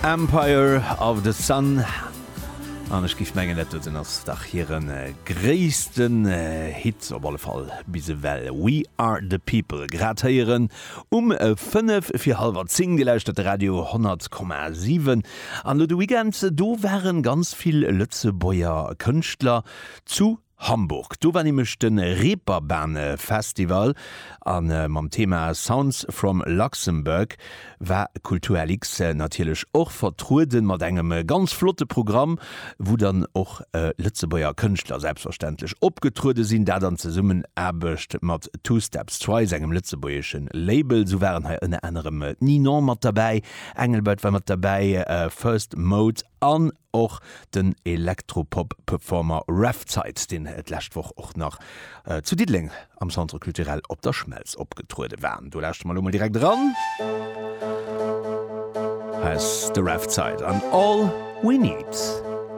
Empire of the Sun. An ech géif mengen, dat doten ass dach hire gréissten Hit, op alle Fall bis ewell. We Are The People, grad héieren um 5 fir hallwer 10. Dir lauschtert de Radio 100,7. An elo de Weekend, do ware ganz vill Lëtzebuerger Kënschtler zu Hamburg. Do war nämlech de Reeperbahn Festival a mam Thema Sounds from Luxembourg war Kulturlx natierlech och vertrueden mat engem ganz flotte Programm, wou dann och Lëtzebuerger Kënschtler selbstverständlech opgetruede sinn, dat an Zesummenaarbecht mat Two Steps Twice, engem lëtzebuergesche Label. Sou waren hei ënner anerem d'Ninon mat derbäi, Engelbert war mat derbäi, First Mode an Och den Elektropop-Performer Revzeit, deen d'lescht Woch och nach zu Diddeleng am Centre Culturel Op der Schmelz opgetruede war. Do lauschtere mer elo mol direkt eran. Hei ass de Revzeit an All We Need.